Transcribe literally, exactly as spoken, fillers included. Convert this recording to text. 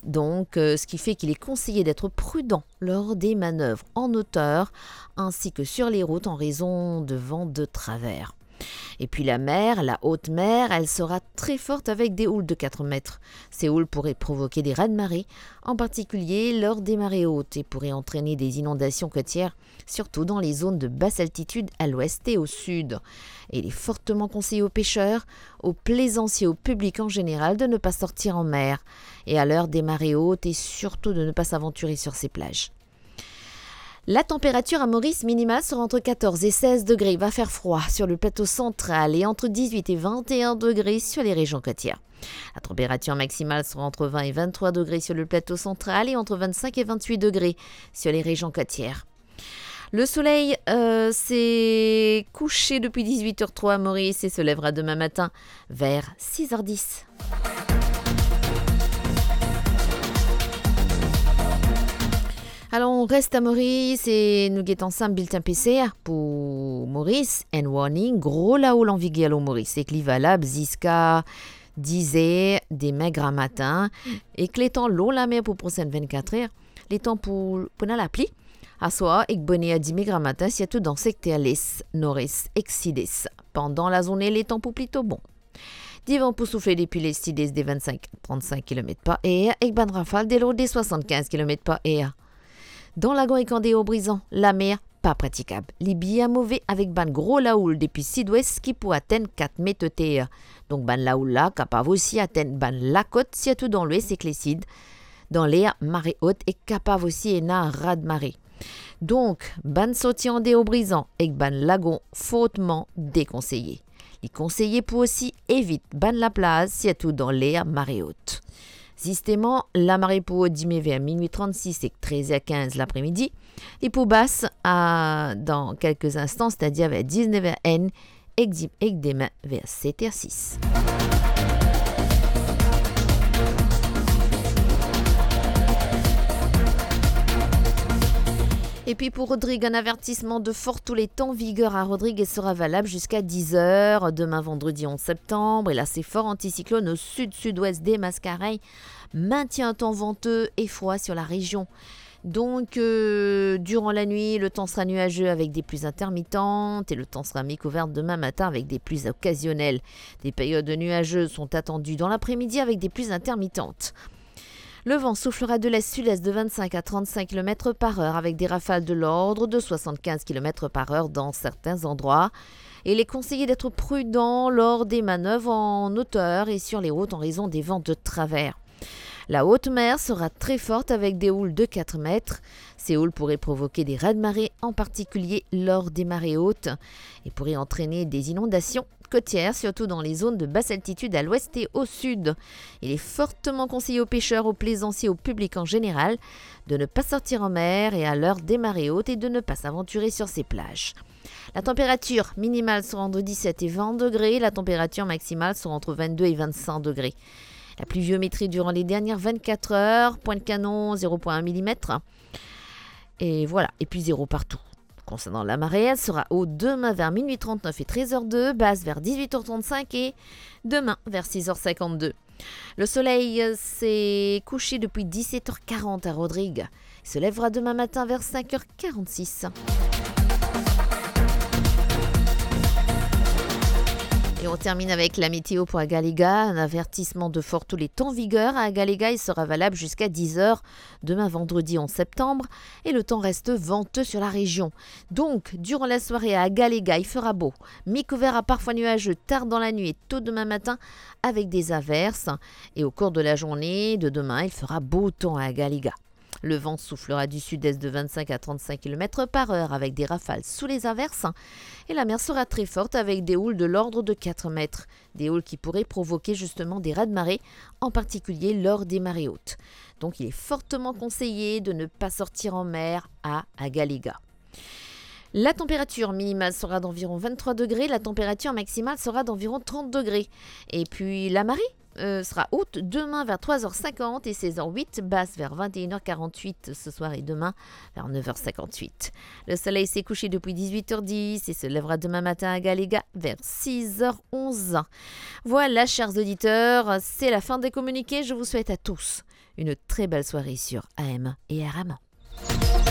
Donc, euh, ce qui fait qu'il est conseillé d'être prudent lors des manœuvres en hauteur ainsi que sur les routes en raison de vents de travers. Et puis la mer, la haute mer, elle sera très forte avec des houles de quatre mètres. Ces houles pourraient provoquer des raz-de-marée, en particulier lors des marées hautes, et pourraient entraîner des inondations côtières, surtout dans les zones de basse altitude à l'ouest et au sud. Et il est fortement conseillé aux pêcheurs, aux plaisanciers, au public en général de ne pas sortir en mer. Et à l'heure des marées hautes, et surtout de ne pas s'aventurer sur ces plages. La température à Maurice minimale sera entre quatorze et seize degrés. Il va faire froid sur le plateau central et entre dix-huit et vingt et un degrés sur les régions côtières. La température maximale sera entre vingt et vingt-trois degrés sur le plateau central et entre vingt-cinq et vingt-huit degrés sur les régions côtières. Le soleil, euh, s'est couché depuis dix-huit heures trois à Maurice et se lèvera demain matin vers six heures dix. Alors, on reste à Maurice et nou get ansam bilten P C R pou Maurice. Enn warning, gro laoul an viger lor Maurice, ek li valab ziska diz er demin gramatin, ek letan lor lamer pou prosenn vennkat er, letan pou, pou ena lapli, aswar ek boner dime gramatin, sirtou dan sekter les, nores ek sides. Pandan lazourne, letan pou plito bon. Divan pou soufle depi le sides de vennsenk, trannsink kilomet par er, ek bann rafal de lord de swasannkinz kilomet par er. Dan lagon ek andeor Brizan, lamer pa pratikab. Li bien move avek bann gro laoul depi sidwes ki pou atenn kat met oter. Donk bann laoul la kapav osi atenn bann lakot, sirtou dan lwes ek lesid. Dan ler mare ot e kapav osi ena raz-de-mare. Donk, bann sorti andeor Brizan ek bann lagon fortman dekonseye. Li konseye pou osi evit bann laplaz, sirtou dan ler mare ot. Zisteman, lamare pou rod dime ver minwi trannsis ek trez er kinz lapremidi. Li pou bas a, dan kelke instan, setadir ver diznev er enn, ek di-, ek demin ver set er sis. Epi pou Rodrig, un avertissement de fort tous les temps vigueur à Rodrig et sera valable jusqu'à dix heures demain vendredi onze septembre. Et là, c'est fort anticyclone au sud-sud-ouest des Mascareignes maintient un temps venteux et froid sur la région. Donc, euh, durant la nuit, le temps sera nuageux avec des pluies intermittentes et le temps sera mi-couvert demain matin avec des pluies occasionnelles. Des périodes nuageuses sont attendues dans l'après-midi avec des pluies intermittentes. Le vent soufflera de l'est-sud-est de vingt-cinq à trente-cinq kilomètres par heure avec des rafales de l'ordre de soixante-quinze kilomètres par heure dans certains endroits. Et il est conseillé d'être prudent lors des manœuvres en hauteur et sur les routes en raison des vents de travers. La haute mer sera très forte avec des houles de quatre mètres. Ces houles pourraient provoquer des raz-de-marée, en particulier lors des marées hautes, et pourraient entraîner des inondations côtières, surtout dans les zones de basse altitude à l'ouest et au sud. Il est fortement conseillé aux pêcheurs, aux plaisanciers, au public en général, de ne pas sortir en mer et à l'heure des marées hautes et de ne pas s'aventurer sur ces plages. La température minimale sera entre dix-sept et vingt degrés, la température maximale sera entre vingt-deux et vingt-cinq degrés. La pluviométrie durant les dernières vingt-quatre heures, pointe canon, zéro point un millimètre. Et voilà, et puis zéro partout. Concernant la marée, elle sera haute demain vers minuit trente-neuf et treize heures deux, basse vers dix-huit heures trente-cinq et demain vers six heures cinquante-deux. Le soleil, euh, s'est couché depuis dix-sept heures quarante à Rodrigues. Il se lèvera demain matin vers cinq heures quarante-six. Et on termine avec la météo pour Agaléga. Un avertissement de fort tous les temps vigueur à Agaléga. Il sera valable jusqu'à dix heures demain vendredi onze septembre. Et le temps reste venteux sur la région. Donc, durant la soirée à Agaléga, il fera beau. Mi-couvert à parfois nuageux tard dans la nuit et tôt demain matin avec des averses. Et au cours de la journée de demain, il fera beau temps à Agaléga. Le vent soufflera du sud-est de vingt-cinq à trente-cinq kilomètres par heure avec des rafales sous les averses. Et la mer sera très forte avec des houles de l'ordre de quatre mètres. Des houles qui pourraient provoquer justement des raz-de-marée, en particulier lors des marées hautes. Donc il est fortement conseillé de ne pas sortir en mer à Agaléga. La température minimale sera d'environ vingt-trois degrés, la température maximale sera d'environ trente degrés. Et puis la marée, euh, sera haute demain vers trois heures cinquante et seize heures huit, basse vers vingt et une heures quarante-huit ce soir et demain vers neuf heures cinquante-huit. Le soleil s'est couché depuis dix-huit heures dix et se lèvera demain matin à Agaléga vers six heures onze. Voilà, chers auditeurs, c'est la fin des communiqués. Je vous souhaite à tous une très belle soirée sur A M un et R M un.